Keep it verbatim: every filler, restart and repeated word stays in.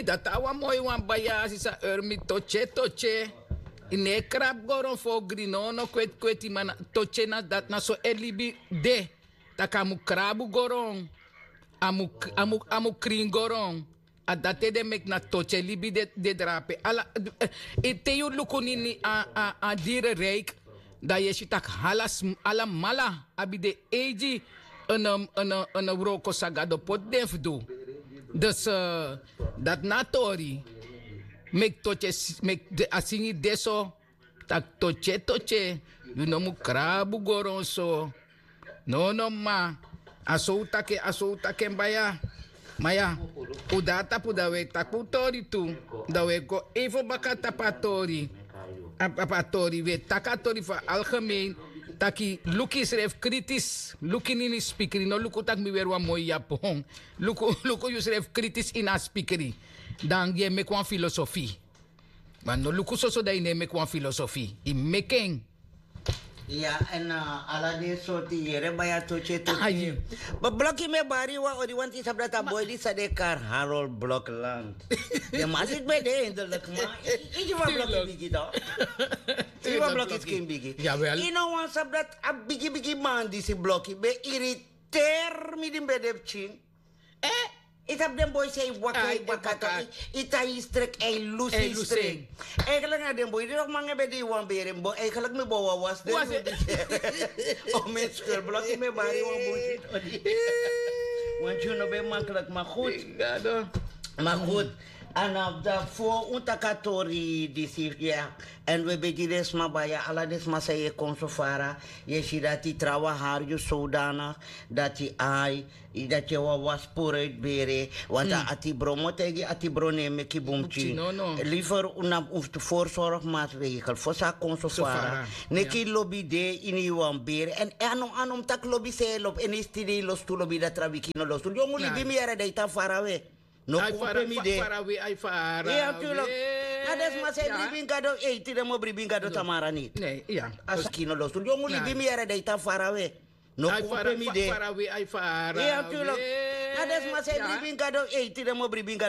Dati a wan moi wan baya sisa ermi totye totye. Yu no e krabu goron fu ogri nono kweti kweti ma na totye na dati na so e libi de. Tak' a mu krabu goron. A mu krin goron. A dati ede meki na totye libi de drape ala. Te yu luku nini a dire rijk, dan yu e si tak' alamala abi den eigi. Wroko san gado poti den fu du. Dus dati na a tori. Meki totye meki a singi de so. Tak' totye totye yu no mu krabu goron so. Nono ma a so un taki en a so un taki en baya. Ma ya, un de na tapu dan un e taki un tori tu. Dan un e go even baka tapu a tori. Tapu a tori un e taki a tori fu a algemeen. Taki luku yusrefi kritis luku ini ini spikri no luku tak' mi weri wan moi yapon. Luku yusrefi kritis ini a spikri. Dan yu e meki wan filosofi. Ma no luku soso dan yu no e meki wan filosofi. Yu meki en. Ya èn ala den sortu yere bai a totye totye. Bloki mi e bari yu wan odi wanti yu sabi dati a boi di san den e kari harold blokland. Den man si ben de endelik ma yu gi wan bloki bigi to. Yu gi wan bloki skin bigi. Yu no wan sabi dati a bigi bigi man disi bloki ben iriteer mi di mi ben de pikin. Yu sabi den boi san yu waka yu waka to yu tan yu strek èn yu lusu yu strek. Eigenlik na den boi di nok manga ben de yu wan bere mi bo eigenlik mi bo wan was den. O mi en skulblok yu mi e bari wan boi. Wan tyun no ben maklik ma gud. Ma gud. A na fu un taki a tori disi ya. Èn un e begi den sma baya ala den sma san yu e kon so fara. Yu e si dati trawan hari yu sowdanik dati ai dati e wawa sporu uitbere. Wantu a atibron mi o taigi atibron no e meki bun pikin. Liver un na un fu tu forsorgmaswegel fosi a kon so fara. Neki lobi de ini yu wan bere èn a no a no mi taki lobi san e lobi ini yu stidi yu lostu lobi dati a wiki no lostu yu o mu libi mi yere dan yu tan fara we. No kon pe mi de. Fara we ai fara we. A den sma san e bribi ini gado ei tide mi o bribi ini gado tamara niti. A skin no lostu yu o mu libi mi yere dan yu tan fara we. No kon pe mi de. Fara we ai fara we. A den sma san e bribi ini gado ei tide mi o bribi ini gado.